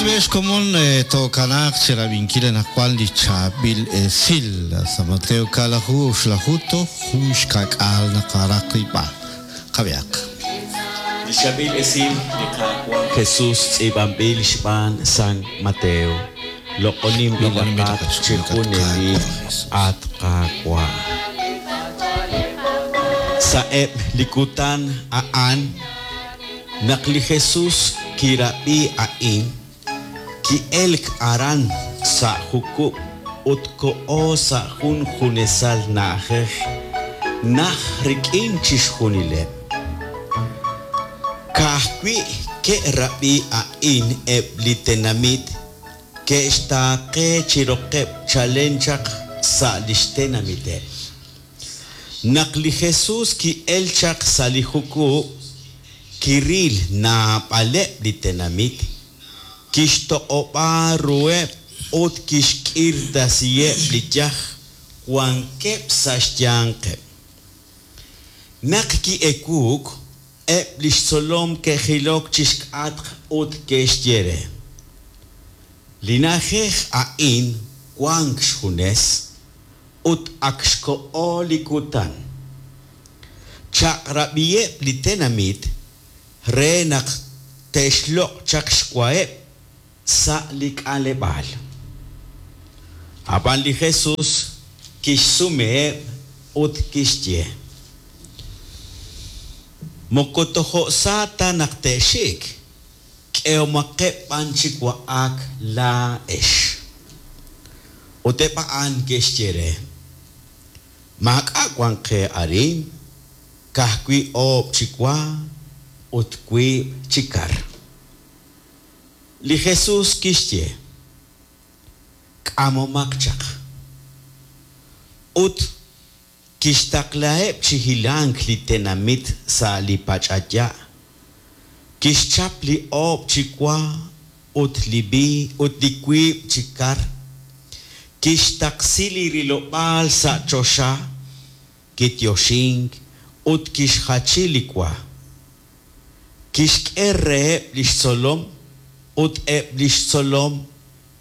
Xb'een xkomon tookanaaq chi rab'inkil anaqwan li chaab'il esil. Sa' Mateo kaalaju oxlaju toj jun xka'k'aal naqaraq rilb'al. Qab'ihaq. Li chaab'il esil li Qaawa' Jesus tz'iib'anb'il xb'aan San Mateo. Loq'oninb'ilaqat chi junelik, at Qaawa'. Sa'eb' li kutan a'an, naq li Jesus kirab'i a'in, ki'elk aran sa' jukub' ut koho sa' jun junesal na'ajej najt rik'in chixjunileb'. Ka'ajwi' ke'rab'i a'in eb' li tenamit ke'xtaaqe chi roqeb' chalen chaq sa' li xtenamiteb'. Naq li Jesus ki'elk chaq sa' li jukub', kiril naab'aleb' li tenamit, kixtoq'ob'a ruheb' ut kixk'irtasiheb' li yaj wankeb' sa' xyanqeb'. Naq ki'ewuuk, eb' li xtzolom ke'jilok chi xk'atq ut ke'xye re, Li na'ajej a'in wank xjunes ut ak xkoho li kutan. Chaq'rab'iheb' li tenamit re naq te'xloq' chaq xwaheb' sa' li k'aleb'aal. Ab'an li Jesus kixsumeheb' ut kixye, Moko tojo' sa ta naq te'xik, k'ehomaqeb' b'an chi wa'ak laa'ex. Ut eb' a'an ke'xye re, Maak'a' wank qe arin, ka'ajwi' oob' chi wa ut wiib' chi kar. Li Jesus kixye, K'amomaq chaq. Ut kixtaqlaheb' chi hilank li tenamit sa' li pach'aya', kixchap li oob' chi wa ut li ut li wiib' chi kar, kixtaqsi li rilob'aal sa' choxa, kityoxink ut kixjachi li wa. Kixk'e reheb' li xtzolom ut eb' li xtzolom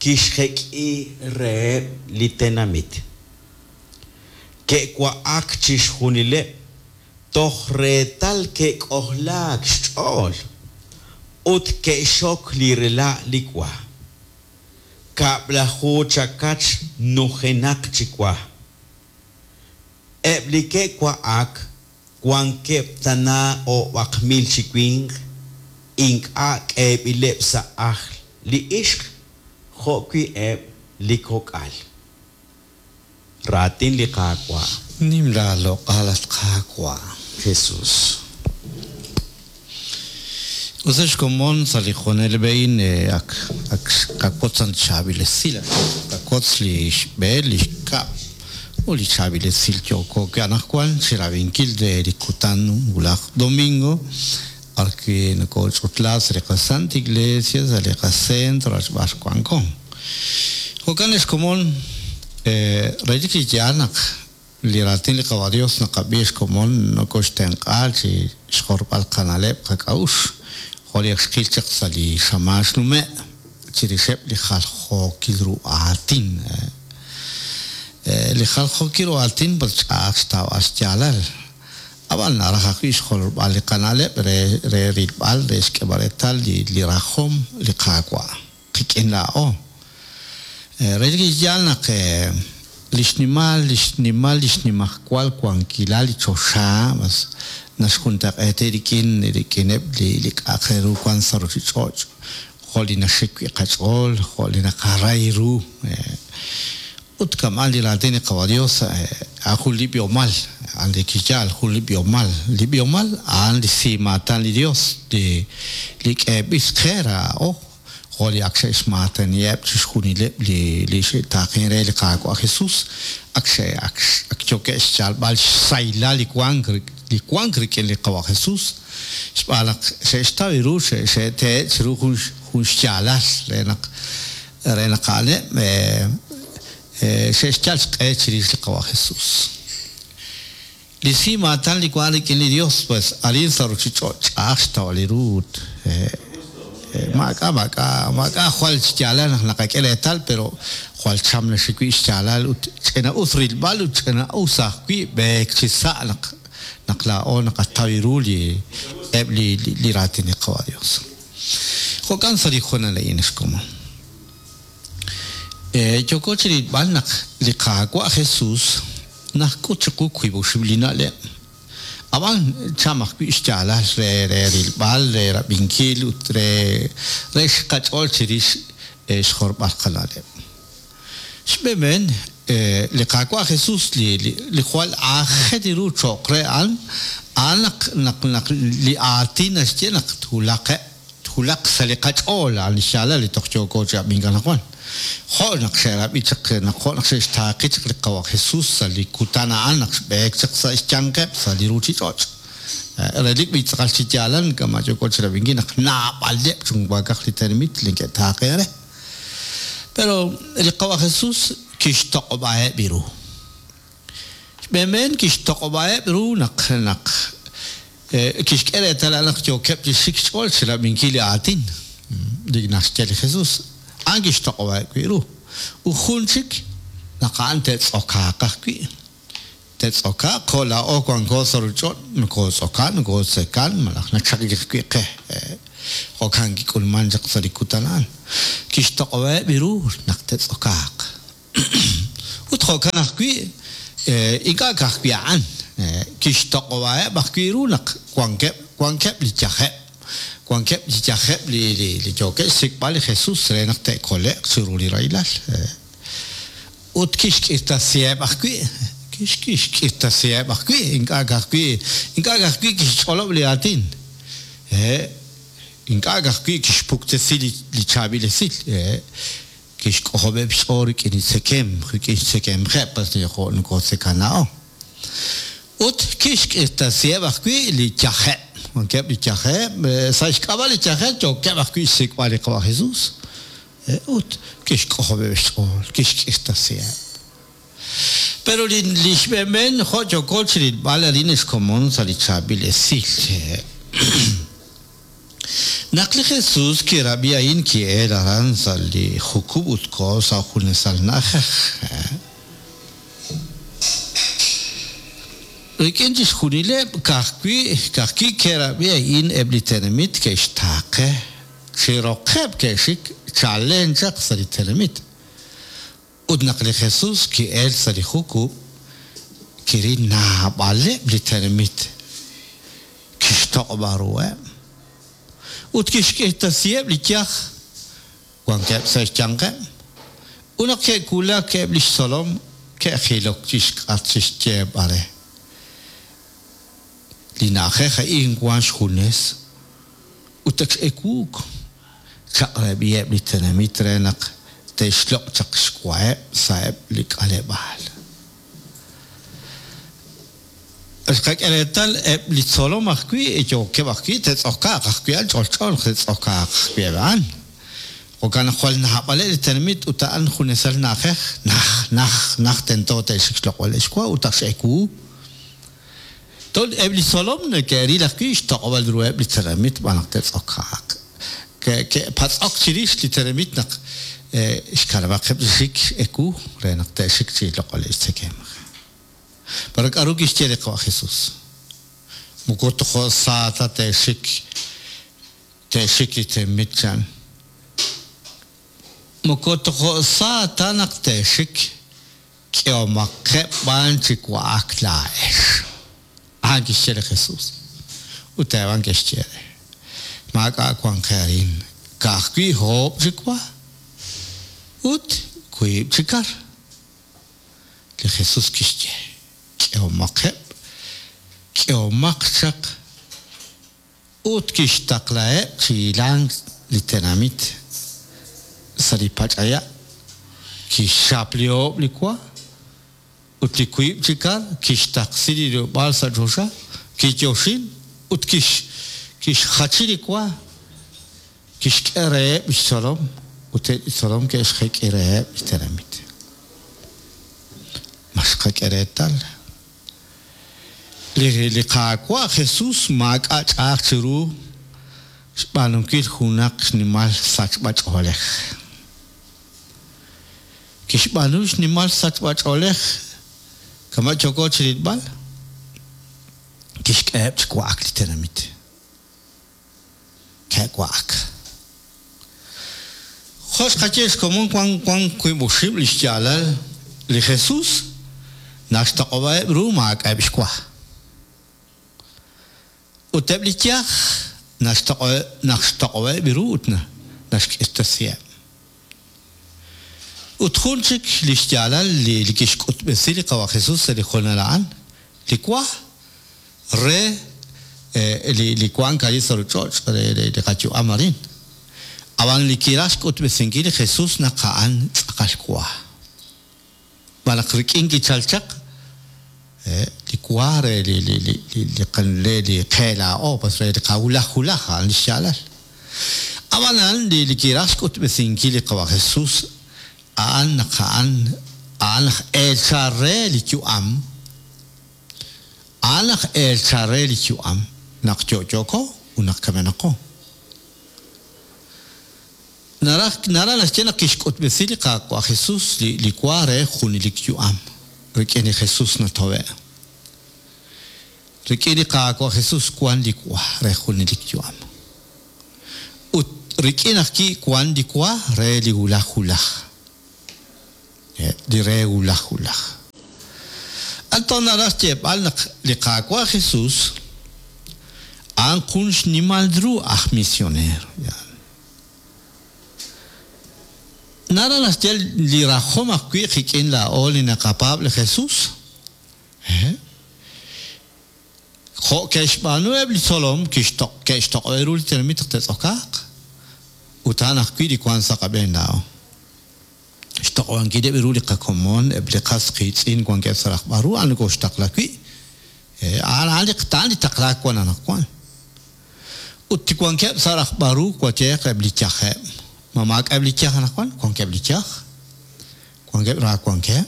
kixjek'i reheb' li tenamit. Ke'wa'ak chixjunileb' toj reetal ke'k'ojlaak xch'ool ut ke'xok li rela' li wa. Kab'laju chakach nujenaq chi wa. Eb' li ke'wa'ak wankeb' tana o'b'aq mil chi winq, ink'a' k'eeb'ileb' sa' ajl li ixq jo'wi' eb' li kok'al. Raatin li Qaawa'. Nim laaloq'al, at Qaawa'. Jesus. Us ex komon, sa' li junelik b'e a'in ak ak xqawotz li chaab'il esil, ak xqawotz li xb'een, li xkab' ut li chaab'il esil yooko wi' anaqwan chirab'inkil re li kutan wulaj domingo b'arwi' nokoch'utla sa' li qaSanta Iglesia, sa' li qacentro b'ar wanko. Jo'kan ex komon, relik chi yaal naq Li raatin li Qawa' Dios naqab'i xkomon nokoxtenq'a chi xjorb'al qana'leb' qak'a'uxl, jo' li ak xqil chaq sa' li xamaan xnume' chirixeb' li jaljookil ru aatin. Li jaljookil ru aatin moko ch'a'aj xtawb'al xyaalal, a'b'an naraj ajwi' xjolb'al li qana'leb' re re rilb'al re xk'eeb'al reetal li rajom li Qaawa'. Qik'in laa'o. Relik chi yaal naq li xnimal, li xnimal li xnimajwal wankilal li choxa mas naxjuntaq'eeti rik'in rik'ineb' li li k'a'aq re ru wank sa' ruuchich'och', jo' li naxik wi' qach'ool, jo' li naqaray ru. Ut kama'an li raatin li Qawa' Dios, a'an jun li b'ihomal, a'an li kiyaal, jun li b'ihomal. Li b'ihomal a'an li simaatan li Dios li li k'eeb'il qe laa'o, jo' li ak xe'xmaataniheb' chixjunileb' li li xe'taaqen re li Qaawa' Jesus, ak xe ak ak yookeb' xyalb'al xsahilal li wank li wank rik'in li Qawa' Jesus, xb'aan naq xe'xtaw ru xe'tehe' chiru jun jun xyaalal re naq Re naq a'aneb' xe'xyal xq'e chirix li Qawa' Jesus. Li si maatan li wank rik'in li Dios, pues arin sa' ruchich'och' ch'a'aj xtawb'al ru ut Maak'a' maak'a' maak'a' jwal xyaalal naq naqak'e reetal, pero jwal cham naxik wi' xyaalal ut ch'ina'us rilb'al ut ch'ina'us ajwi' b'eek chi sa' naq naq laa'o naqataw ru li eb' li li raatin li Qawa' Dios. Jo'kan sa' li hoonal a'in ex komon. Yooko chirilb'al naq li Qaawa' Jesus naxk'ut chiqu wiib' oxib' li na'leb'. Ab'an cham ajwi' xyaalal re re rilb'al, re rab'inkil ut re re xqach'ool chirix xjorb'al qana'leb'. Xb'een, li Qaawa' Jesus li li jwal aajel ru cho'q re a'an, a'an naq naq naq li aatin naxye naq twulaqeb' Twulaq sa' li qach'ool a'an li xyaalal li toj yooko chi ab'ink anaqwan. Jo' naq xe'rab'i chaq naq jo' naq xe'xtaaqi chaq li Qawa' Jesús sa' li kutan a'an naq xb'eek chaq sa' xyanqeb' sa' li ruuchich'och'. Relik b'i' tz'aqal chi yaalal kama' yooko chi rab'inkil naq naab'aleb' chunwaakaj li tenamit li neke'taaqen re. Pero li Qawa' Jesús kixtoq'ob'aheb' ru. Xb'een kixtoq'ob'aheb' ru naq naq kixk'e reetal a'an naq yookeb' chi xik xch'ool chirab'inkil li aatin li naxye li Jesus. A'an kixtoq'ob'aheb' wi' ru. Ut jun chik, naq a'an te'tz'okaaq ajwi'. Te'tz'okaaq jo' laa'o wanko sa' ruuchich'och', nokootz'okan, nokootzekan malaj nachaqik ajwi' qe. Jo'kan kik'ulmank chaq sa' li kutan a'an. Kixtoq'ob'aheb' ru naq te'tz'okaaq. Ut jo'kan ajwi', ink'a' ka'ajwi' a'an, kixtoq'ob'aheb' ajwi' ru naq wankeb' wankeb' li yajeb', wankeb' li yajeb' li li yookeb' xsik'b'al li Jesus re naq te'kole'q chiru li rahilal. Ut kixk'irtasiheb' ajwi', kixk'irtasiheb' ajwi', ink'a' ka'ajwi' ink'a' ka'ajwi' kixch'olob' li aatin, ink'a' ka'ajwi' kixpuktesi li chaab'il esil. Kixk'ojob'eb' xch'ool rik'in li tzekemq, rik'in xtzekemqeb' pas li jo' nokotzekan laa'o. Ut kixk'irtasiheb' ajwi' li yajeb'. Wankeb' li yajeb', sa' xk'ab'a' li yajel yookeb' ajwi' xsik'b'al li Qawa' Jesus. Ut kixk'ojob'eb' xch'ool, kixk'irtasiheb'. Pero li li xb'een jo' yooko chirilb'al arin ex komon sa' li chaab'il esil. Naq li Jesús kirab'i a'in ki'elk aran sa' li jukub' ut koho sa' junesal na'ajej. Rik'in chixjunileb' ka'ajwi' ka'ajwi' ke'rab'i a'in eb' li tenamit ke'xtaaqe, chi roqeb' ke'xik chalen chaq sa' li tenamit. Ut naq li Jesús ki'elk sa' li jukub', kiril naab'aleb' li tenamit, kixtoq'ob'a ruheb' ut kixk'irtasiheb' li yaj wankeb' sa' xyanqeb'. Ut naq ke'wulak eb' li xtzolom, ke'jilok chi xk'atq chi xyeeb'al re, Li na'ajej a'in wank xjunes ut ak x'ewuuk. Chaq'rab'iheb' li tenamit re naq te'xloq' chaq xwaheb' sa'eb' li k'aleb'aal. Xqak'e reetal eb' li tzolom ajwi' yookeb' ajwi' te'tz'okaaq ajwi' a'an ch'olch'o naq te'tz'okaaq ajwi' eb' a'an. Jo'kan naq jwal naab'aleb' li tenamit ut a'an junesal na'ajej naj, naj, naj tento te'xik xloq'b'aleb' xwa ut ak x'ewu. Tol eb' li tzolom neke'ril ajwi' xtoq'ob'al ruheb' li tenamit xb'aan naq te'tz'okaaq. Ke'patz'ok chirix li tenamit naq xkanab'aqeb' chi xik ewu re naq te'xik chi loq'oleb' xtzekemq. Pero k'aru kixye li Qawa' Jesús? Moko tojo' sa ta te'xik te'xik li tenamit chan. Moko tojo' sa ta naq te'xik K'ehomaqeb' b'an chi wa'ak laa'ex. A'an kixye li Jesús. Ut eb' a'an ke'xye re, Maak'a' wank qe arin, ka'ajwi' oob' chi wa ut wiib' chi kar. Li Jesús kixye, K'ehomaqeb', k'ehomaq chaq. Ut kixtaqlaheb' chi hilank li tenamit sa' li pach'aya', kixchap li oob' li wa ut li wiib' chi kar, kixtaqsi li rilob'aal sa' choxa, kiyoxin ut kixjachi li wa, kixk'e reheb' li xtzolom ut eb' li xtzolom ke'xjek'i reheb' li tenamit. Ma xqak'e reetal? Li Qaawa' Jesus maak'a' ch'a'aj chiru xb'aanunkil junaq xnimal sachb'ach'oolej. Kixb'aanu xnimal sachb'ach'oolej kama' yooko chi rilb'al, kixk'eheb' chi wa'ak li tenamit. Ke'wa'ak. Jo' xqaye xkomon wan wan 5 li xyaalal li Jesús naxtoq'ob'aheb' ru maak'a'eb' xwa. Ut eb' li yaj naxtoq'ob'aheb' ru ut naxk'irtasiheb'. Ut jun chik li xyaalal li kixk'utb'esi li Qawa' Jesús sa' li hoonal a'an, li wa re li wank arin sa' ruuchich'och' re li qayu'am arin. Ab'an li kiraj xk'utb'esinkil li Jesús naq a'an tz'aqal wa. Malaj rik'in kichalk chaq li wa re li qe laa'o, pues re li qawulaj wulaj a'an li xyaalal. Ab'anan li kiraj xk'utb'esinkil li Qawa' Jesús a'an naq a'an a'an aj eechal re li yu'am, a'an aj eechal re li yu'am naq yo'yooko ut naq kamenaqo. Naraj naraj naxye naq kixk'utb'esi li Qaawa' Jesús li li wa re junelik yu'am. Rik'in li Jesús natowe'. Rik'in li Qaawa' Jesús wank li wa re junelik yu'am. Ut rik'in ajwi' wank li wa re li wulaj wulaj. Li re wulaj wulaj. Anton naraj xyeeb'al naq li Qaawa' Jesús a'an jun xnimal ru aj misioneer. Naraj naxye li rajom ajwi' qik'in laa'o li naqapaab' li Jesús. Jo' ke'xb'aanu eb' li tzolom ke'xtoq'ob'e ru li tenamit naq te'tz'okaaq, ut a'an ajwi' li wank sa' qab'een laa'o. Xtoq'ob'ankileb' ru li qakomon, eb' li qas qiitz'in wankeb' sa' rajb'al ru, a'an nokooxtaqla wi'. A'an li taqlaak wank anaqwan. Ut wankeb' sa' rajb'al ru wayeeq eb' li yajeb'. Ma maak'a'eb' li yaj anaqwan? Wankeb' li yaj. Wankeb' ra wankeb'.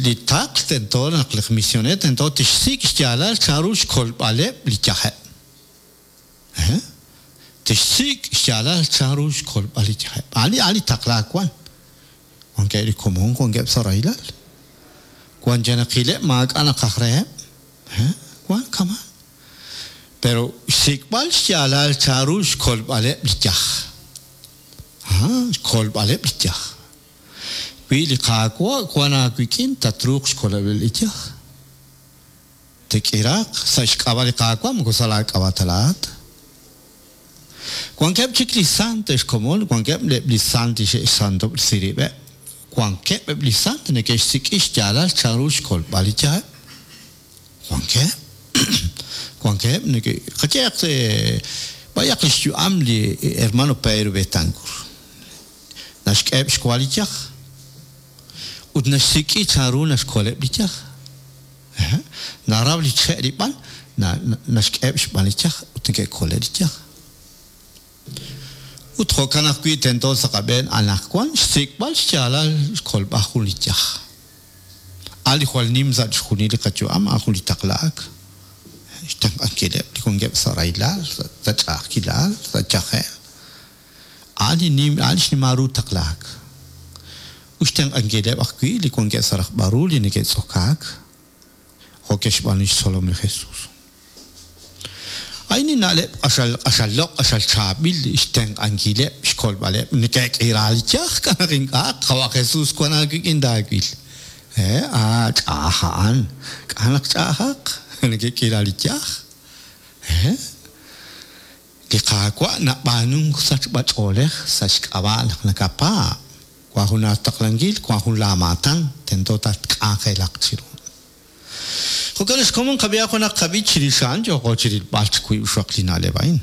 Li taql tento naq li misioneer tento tixsik' xyaalal chanru xkolb'aleb' li yajeb'. Tixsik' xyaalal chanru xkolb'al li yajeb'. A'an li taqlaak wan. Wankeb' li komon wankeb' sa' rahilal. Wanjenaqileb' maak'a' naqaj reheb'. Wan kama'. Pero xsik'b'al xyaalal chanru xkolb'aleb' li yaj. Xkolb'aleb' li yaj. Wi li Qaawa' wank aawik'in tatruuq xkolb'aleb' li yaj. Te'k'iraaq sa' xk'ab'a' li Qaawa' moko sa' laak'ab'a' ta laa'at. Wankeb' chik li sant ex komon, wankeb' eb' li sant li xe'xsantob'resi rib'eb'. Wankeb' eb' li sant neke'xsik'i xyaalal chanru xkolb'al li yajeb'. Wankeb'. Wankeb' neke', qayehaq b'ayaq li xyu'am li hermano Pedro Betancourt. Naxk'eheb' xwa li yaj ut naxsik'i chanru naxkoleb' li yaj. Naraw li che' li b'an, naxk'eheb' xb'an li yaj ut neke'kole' li yaj. Ut jo'kan ajwi' tento sa' qab'een anaqwan xsik'b'al xyaalal xkolb'al jun li yaj. A'an li jwal nim sa' chixjunil li qayu'am, a'an jun li taqlaak. Xtenq'ankileb' li wankeb' sa' rahilal, sa' ch'a'ajkilal, sa' yajel. A'an li nim, a'an li xnimal ru taqlaak. Ut xtenq'ankileb' ajwi' li wankeb' sa' rajb'al ru li neke'tz'okaak, jo' ke'xb'aanu li xtzolom li Jesús. A'in li na'leb' q'axal q'axal loq', q'axal chaab'il xtenq'ankileb', xkolb'aleb'. Neke'k'ira li yaj, k'a' naq ink'a' Qawa' Jesús wank aawik'in taawil. A ch'a'aj a'an. K'a' naq ch'a'ajaq? Neke'k'ira li yaj. Li Qaawa' nab'aanunk sachb'ach'oolej sa' xk'ab'a' naq nakapaab'. Wank jun aataqlankil, wank jun laamaatan, tento tatk'anjelaq chiru. Jo'kan ex komon qab'ihaq junaq qab'ich chirix a'an yooqo chi rilb'al chi wiib' xwaq li na'leb' a'in.